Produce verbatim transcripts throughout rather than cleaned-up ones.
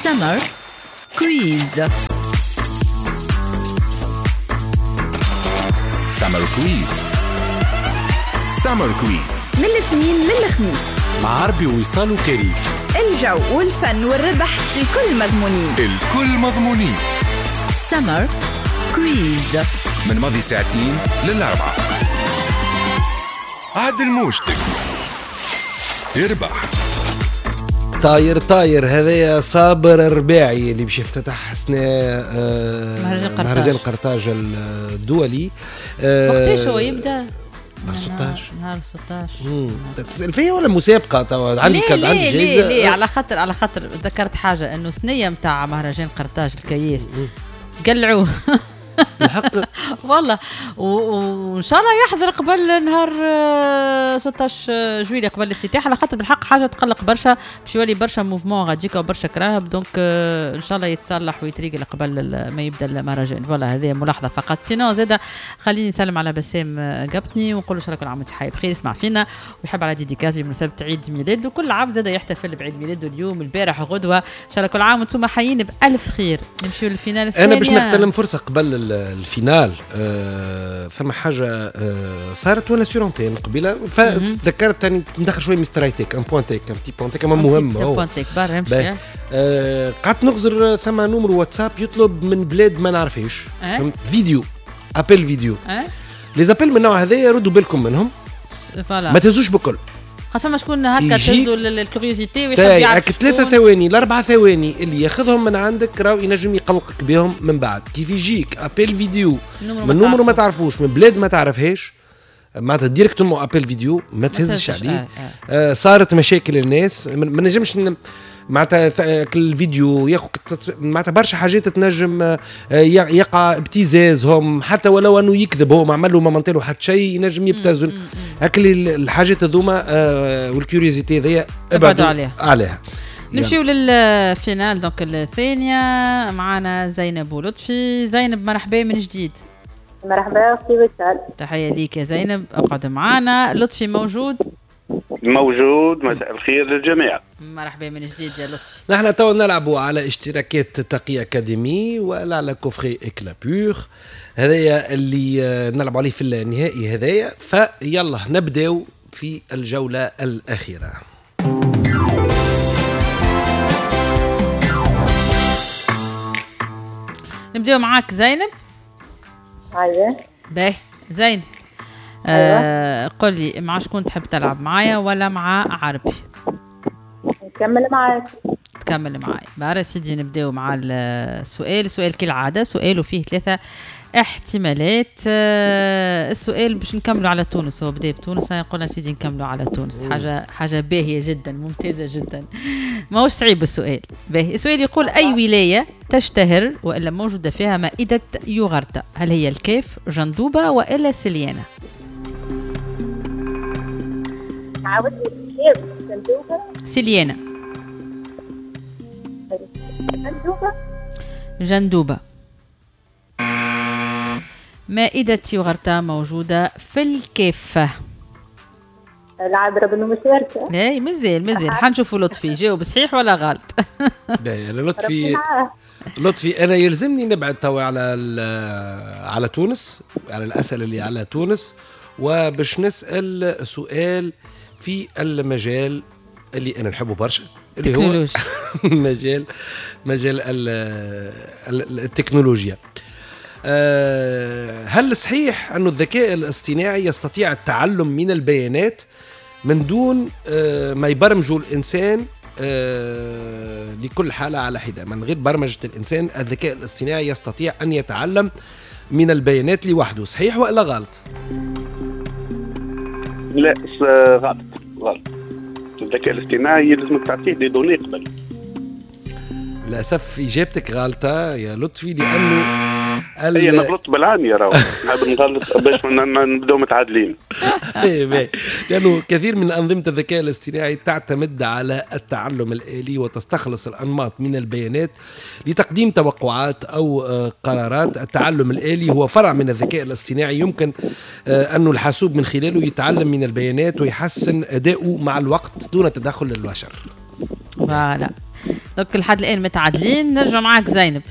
Summer Quiz. Summer Quiz. Summer Quiz من الاثنين للخميس مع عربي ووصال وكريم. الجو والفن والربح الكل مضمونين، الكل مضمونين. Summer Quiz من ماضي ساعتين للأربعة. عدل موجتك يربح. طاير طاير، هذايا صابر الرباعي اللي باش يفتتح سنة آه مهرجان قرطاج الدولي. آه وقتاش هو يبدا؟ نهار ستة عشر. نهار ستة عشر. تسأل فيا ولا مسابقة توا؟ عندي كاد عندي جايزة. ليه ليه على خاطر على خاطر ذكرت حاجة انه ثنية نتاع مهرجان قرطاج الكياس قلعوه الحق والله، وان شاء الله يحضر قبل نهار ستة عشر جويلية قبل الافتتاح، على خاطر بالحق حاجة تقلق برشا، باش يولي برشا mouvement غاديكا وبرشا كراهب، donc ان شاء الله يتصلح ويتريقل قبل ما يبدا المهرجان. voilà هذه ملاحظة فقط. sinon زاده خليني نسلم على بسام قبطني ونقول له ان شاء الله كل عام وانت حي بخير، يسمع فينا ويحب على dédicace بمناسبة عيد ميلاده. كل عام زاده يحتفل بعيد ميلاده اليوم البارح غدوه، ان شاء الله كل عام وانتم حيين بالف خير. نمشيو لل finale الثانية. انا باش نغتنم فرصة قبل ال finale، آه ثم حاجة آه صارت وانا sur antenne قبيلة، فتذكرت ثاني ندخل شوية Mister High-Tech، un point tech، un petit point tech مهم هو point tech برا نمشي. آه قعدت نغزر ثم numéro واتساب يطلب من بلاد ما نعرفهاش أه؟ vidéo، appel vidéo. أه؟ les appels من النوع هذايا ردوا بالكم منهم، ما تهزوش بكل. فما شكون هكا تهزوا ال curiosité ويحب يعرف ثلاثة ثواني الأربعة ثواني اللي ياخذهم من عندك راهو ينجم يقلقك بهم من بعد. كيف يجيك appel vidéo من numéro ما تعرفوش من بلاد ما تعرفهاش، معناتها directement appel vidéo ما تهزش عليه. آه آه. آه صارت مشاكل الناس، ما نجمش معناتها الفيديو ياخذ معناتها برشا حاجات تنجم يقع ابتزازهم، حتى ولو انه يكذب هو ما عمل له ما منطلو حتى شيء ينجم يبتزل. هاك الحاجات هذوما وال curiosité هذيا ابعدوا عليها, عليها. نمشيو لل finale donc الثانية، معنا زينب ولطفي. زينب مرحبا من جديد. مرحبا اختي وسال، تحية ليك يا زينب، اقعد معنا. لطفي موجود؟ موجود، مساء الخير للجميع. مرحبا من جديد يا لطفي. نحن تو نلعبوا على اشتراكات تقي اكاديمي ولا على coffret Éclat Pur، هذايا اللي نلعبوا عليه في النهائي هذايا. فيلا نبداو في الجولة الأخيرة. نبداو معاك زينب. ايوه باهي زينب. آه قل لي مع شكون تحب تلعب، معايا ولا مع عربي؟ نكمل معاك. تكمل معايا بارا سيدي. نبداو مع السؤال. سؤال كالعادة سؤال وفيه ثلاثة احتمالات. آه السؤال باش نكملوا على تونس، هو بدا بتونس، قلنا سيدي نكملوا على تونس، حاجة حاجة باهية جدا ممتازة جدا، ماهوش صعيب السؤال. باهي السؤال يقول أي ولاية تشتهر وإلا موجودة فيها مائدة يوغرتا؟ هل هي الكاف، جندوبة، وإلا سليانة؟ عاودت جندوبة سليانة. جندوبة جندوبة. مائدة يوغرتا موجودة في الكاف. العذراء بالمشاركة. اي مازال مازال حنشوفوا لطفي جاوب صحيح ولا غلط. باهي لطفي لطفي انا يلزمني نبعد توا على على تونس، على الاسئلة اللي على تونس، وباش نسال سؤال في المجال اللي انا نحبه برشا، اللي هو مجال مجال التكنولوجيا. هل صحيح أن الذكاء الاصطناعي يستطيع التعلم من البيانات من دون ما يبرمجه الإنسان لكل حالة على حدة؟ من غير برمجة الإنسان الذكاء الاصطناعي يستطيع أن يتعلم من البيانات لوحده، صحيح ولا غلط؟ لا غلط غلط. الذكاء الاصطناعي يلزمك تعطيه des données قبل. للأسف إجابتك غلطة يا لطفي، لأنه هي نغلط بالعانية راهو، نحب نغلط باش نبداو متعادلين. لأنه كثير من أنظمة الذكاء الاصطناعي تعتمد على التعلم الآلي وتستخلص الأنماط من البيانات لتقديم توقعات أو قرارات. التعلم الآلي هو فرع من الذكاء الاصطناعي يمكن أن الحاسوب من خلاله يتعلم من البيانات ويحسن أداؤه مع الوقت دون تدخل البشر. voilà. donc لحد الان متعادلين. نرجع معاك زينب.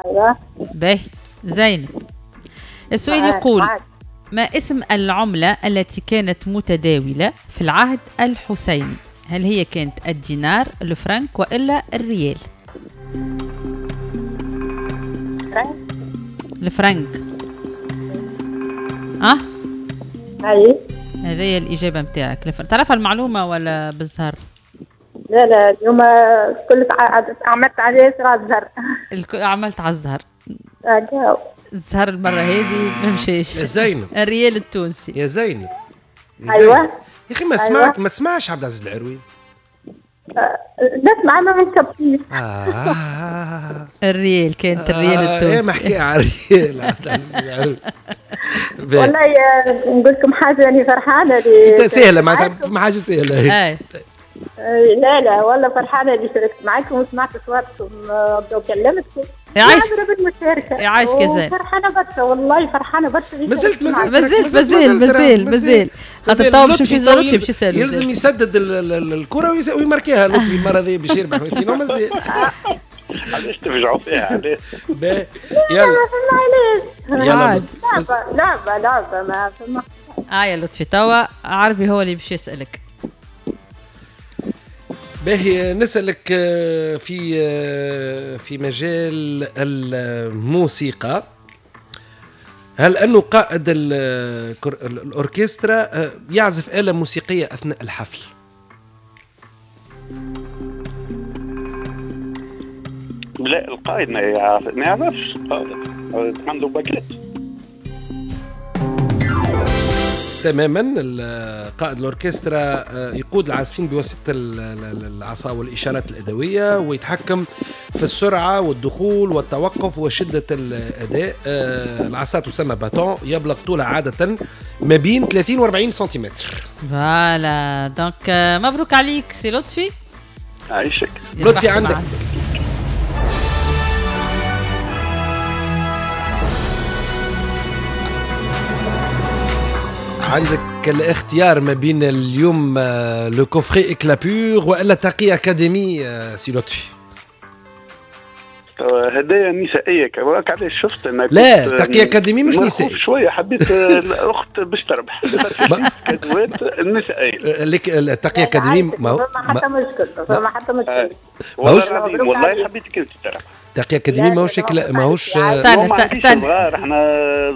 ايوه باهي زينب، السؤال يقول ما اسم العملة التي كانت متداولة في العهد الحسيني؟ هل هي كانت الدينار، الفرنك، وإلا الريال؟ الفرنك. أه؟ أي هذه هي الإجابة متاعك. تعرف المعلومة ولا بالزهر؟ لا لا اليوم كل عملت عليه على الزهر. الكل عملت على الزهر. الزهر المرة هذه ما مشيش. يا زينب الريال التونسي. يا زينب. أيوة يا أخي ما سمعت، ما تسمعش عبد العزيز العروي؟ نسمع ما نكبتيش. آه. الريال كانت الريال التونسي. آه ما حكي على الريال عبد العزيز العروي. والله نقول لكم حاجة، يعني فرحانة لي. سهلة معناتها، ما حاجة سهلة. آه. لا لا والله فرحانة اللي شاركت معاكم وسمعت صوتكم وكلمتكم. يعيشك بالمشاركة. يعيشك يا زين. فرحانة برشا والله، فرحانة برشا. مازلت مازلت مازال مازال مازال خاطر تو باش نمشي لطفي باش يسالوا. يلزم يسدد الكرة ويماركيها لطفي المرة هذه باش يربح، sinon مازال. علاش تفجعوا فيها؟ علاش؟ يلا يلا لعبة لعبة ما فما. اه يا لطفي توا عربي هو اللي باش يسألك. باهي نسألك في في مجال الموسيقى، هل أنه قائد الأوركسترا يعزف آلة موسيقية أثناء الحفل؟ لا القائد ما يعرف، ما يعرفش، عنده باكيت. تماما، قائد الأوركسترا يقود العازفين بواسطة العصا والإشارات الأدوية، ويتحكم في السرعة والدخول والتوقف وشدة الأداء. العصا تسمى bâton، يبلغ طولها عادة ما بين ثلاثين وأربعين سنتيمتر. voilà donc مبروك عليك سي لطفي. عايشك لطفي. عندك عندك الاختيار ما بين اليوم le coffret Éclat Pur والا تقي اكاديمي سي لطفي. هدايا نسائية كمان، علاش شفت انا؟ لا تقي اكاديمي مش نسائي شوية، حبيت الاخت باش تربح كادوات النسائية. لك التقي اكاديمي ما حتى مشكل، ما حتى مشكل والله والله حبيتك انت تربح. تقي اكاديمي ماهوش ماهوش. استنى استنى، صغار احنا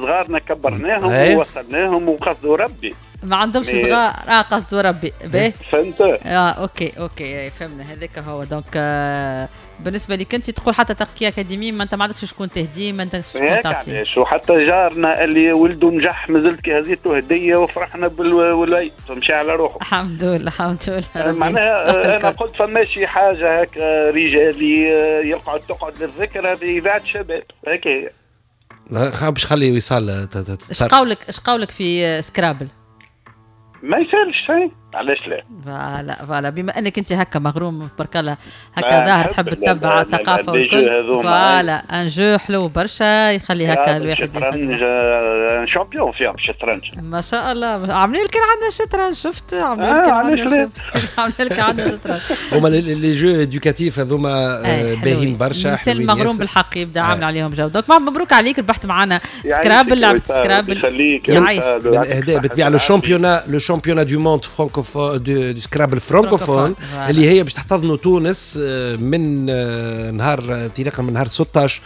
صغارنا كبرناهم ووصلناهم وقصدوا ربي. ما عندهمش صغار اه قصدوا ربي. باهي فهمت. اه OK OK فهمنا هذاك هو. donc آه بالنسبة لك انت تقول حتى تقي اكاديمي ما انت ما عندكش شكون تهديه، ما انت شكون تعطيه. وحتى جارنا اللي ولده نجح مازلت كي هزيته هديه وفرحنا بالوليد مشى على روحه. الحمد لله الحمد لله. معناها انا قلت فماشي حاجة هكا رجالي يقعد تقعد للذكر، هذه اذاعة شباب هكا هي. لا باش خلي وصال. اش قولك اش قولك في Scrabble؟ ما يسالش شيء، علاش لا؟ voilà voilà بما انك انت هكا مغروم تبارك الله هكا ظاهر تحب تتبع ثقافة والكل. voilà un jeu حلو برشا يخلي هكا الواحد الشطرنج champion فيها الشطرنج ما شاء الله. عاملين لك عندنا الشطرنج، شفت عاملين لك عندنا عاملين لك عندنا الشطرنج. هما les jeux éducatifs هذوما باهيين برشا. الانسان المغروم بالحق يبدا عامل عليهم جو. donc مبروك عليك ربحت معنا Scrabble، لعبه Scrabble. من الاهداء بالطبيعة le championnat le championnat du monde francophone du Scrabble francophone اللي هي باش تحتضنوا تونس من نهار انطلاقا من نهار ستة عشر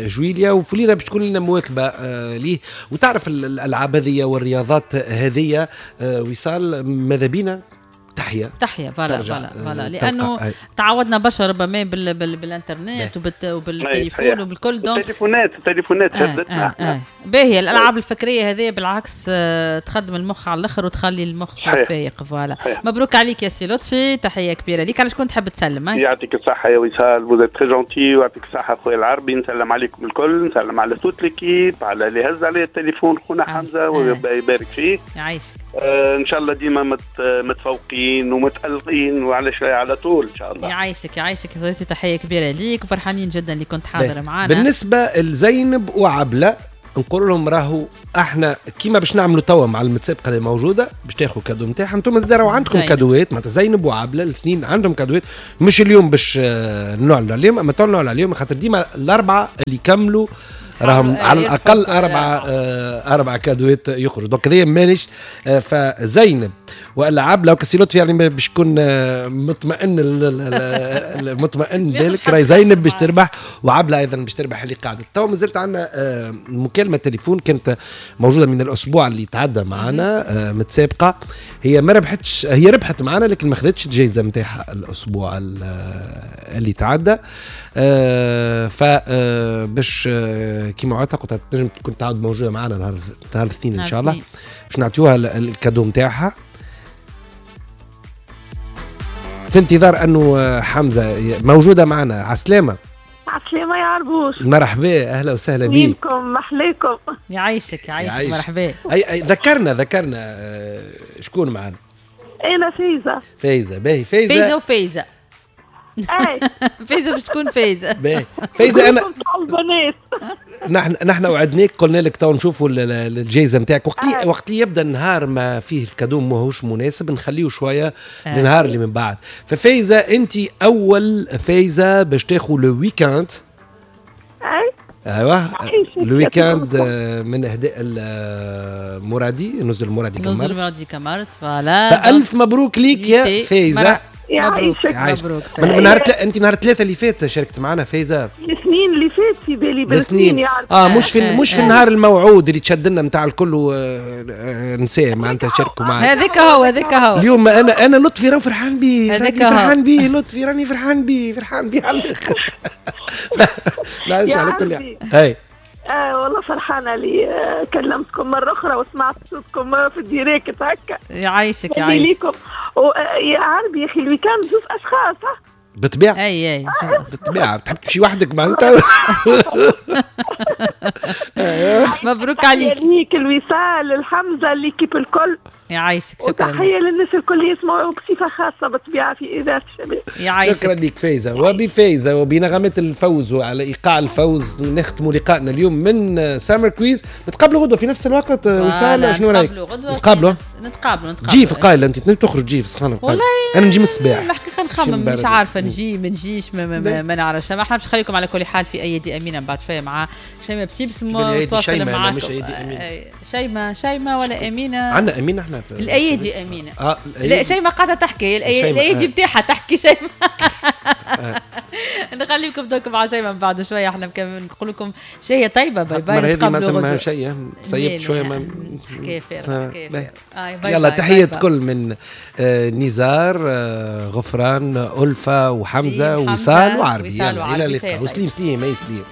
جويليا، وفلينا باش تكون لنا مواكبة ليه. وتعرف الالعاب هذه والرياضات هذه وصال ماذا بينا تحيا تحيا voilà voilà voilà لانه تعودنا برشا ربما بال بال بالانترنت وبالتليفون وبالكل. donc التليفونات التليفونات هدتنا. آه آه. باهيه الالعاب الفكرية هذه بالعكس آه تخدم المخ على الاخر وتخلي المخ فايق. voilà مبروك عليك يا سي لطفي، تحية كبيرة ليك. على شكون تحب تسلم؟ يعطيك الصحة يا وصال، vous êtes très gentille، ويعطيك الصحة خويا العربي. نسلم عليكم الكل، نسلم على toute l'équipe، على اللي هز عليه التليفون خونا حمزة ويبارك فيه. يعيشك. آه ان شاء الله ديما مت متفوقين ومتألقين وعلى شوية على طول ان شاء الله. يعيشك يعيشك يا صديقي، تحية كبيرة ليك وفرحانين جدا اللي كنت حاضر معنا. بالنسبة لزينب وعبله نقول لهم راهو احنا كيما باش نعملوا توا مع المتسابقه اللي موجودة باش تاخذوا cadeau نتاعها، انتم زاد راهو عندكم كادوات، معناتها زينب وعبله الاثنين عندهم كادوات، مش اليوم باش نعلنوا عليهم، اما نعلنوا عليهم خاطر ديما الاربعة اللي يكملوا راهم على الاقل اربعة آه اربعة كادوات يخرجوا. donc هذايا مانيش آه فزينب والا عبله وكسي لطفي يعني باش يكون آه مطمئن مطمئن بالك راهي زينب باش تربح وعبله ايضا باش تربح اللي قاعدة. تو مازلت عندنا آه مكالمة تليفون كانت موجودة من الاسبوع اللي تعدى معنا آه متسابقه، هي ما ربحتش، هي ربحت معنا لكن ما خذتش الجائزة نتاعها الاسبوع اللي تعدى. آه ف آه باش آه كيما وعدتها قلت تنجم تكون تعود موجودة معنا نهار نهار الاثنين ان شاء الله باش نعطيوها ال cadeau نتاعها، في انتظار انه حمزة موجودة معنا. عسلامة. عسلامة يا عربوش. مرحبا، اهلا وسهلا بيك. وينكم محليكم. يعيشك يعيشك، مرحبا. اي اي ذكرنا ذكرنا شكون معنا؟ انا فايزه. فايزه باهي. فايزه فايزه وفايزه. اي فايزه باش تكون فايزه. باهي فايزه. انا نحن نحن وعدناك قلنا لك تو نشوفوا الجائزة نتاعك وقت وقت يبدا النهار ما فيه ال cadeau ماهوش مناسب نخليه شوية للنهار اللي من بعد. ففايزه انت اول فايزه باش تاخذ le week-end. اي ايوه ال week-end من اهداء المرادي، نزل المرادي كمارت. نزل المرادي كمارت voilà. فالف مبروك ليك يا فايزه. يعيشك. مبروك. من نهار تل... انت نهار ثلاثة اللي فات شاركت معنا فايزه. الاثنين اللي فات في بالي بالاثنين يعني. اه مش في مش في النهار الموعود اللي تشد لنا نتاع الكل نساء معناتها شاركوا معنا. هذاك هو هذاك هو. اليوم انا انا لطفي راه فرحان بيه، راني فرحان بيه لطفي، راني فرحان بيه، فرحان بيه على الاخر. معلش على كل حال. هاي آه والله فرحانة لي كلمتكم مرة أخرى وسمعت صوتكم في ال direct هكا. يعيشك يعيشك. ليكم. يا عربي يا أخي ال week-end زوز أشخاص. بالطبيعة. أي أي بالطبيعة تحب تمشي وحدك معناتها. مبروك عليك. ليك الوصال الحمزة l'équipe الكل. يعيشك شكرا. وتحية للناس الكل يسمعوا بصفة خاصة بالطبيعة في إذاعة الشباب. يعيشك. شكرا لك فايزة. وبفايزة وبنغمات الفوز وعلى إيقاع الفوز نختم لقائنا اليوم من Summer Quiz. نتقابلوا غدوة في نفس الوقت وسالة، شنو رأيك؟ نتقابلوا نتقابلوا نتقابلوا. تجي في القايلة أنت تخرج تجي في سخانة والله أنا نجي من الصباح. الحقيقة نخمم مش عارفة نجي ما نجيش ما, ما, ما, ما نعرفش. ما احنا باش نخليكم على كل حال في أيدي أمينة بعد شوية مع شيماء بسيبس متواصلة معاكم. مش أيدي أمينة. شيماء شيماء ولا أمينة؟ عندنا أمينة احنا في الايادي امينه. اه لا شيماء قاعدة تحكي الايادي بتاعها تحكي شيماء. آه. نخليكم دوك مع شيماء من بعد شوية، احنا نقول لكم شهية طيبة. bye bye. نتقابلوا غدوه. شيء سيبت شوية ما حكاية فارغة حكاية فارغة. يلا تحية كل من آه نزار آه غفران ألفة وحمزة ووصال وعربي. يلا الى اللقاء. وسليم سليم اي سليم.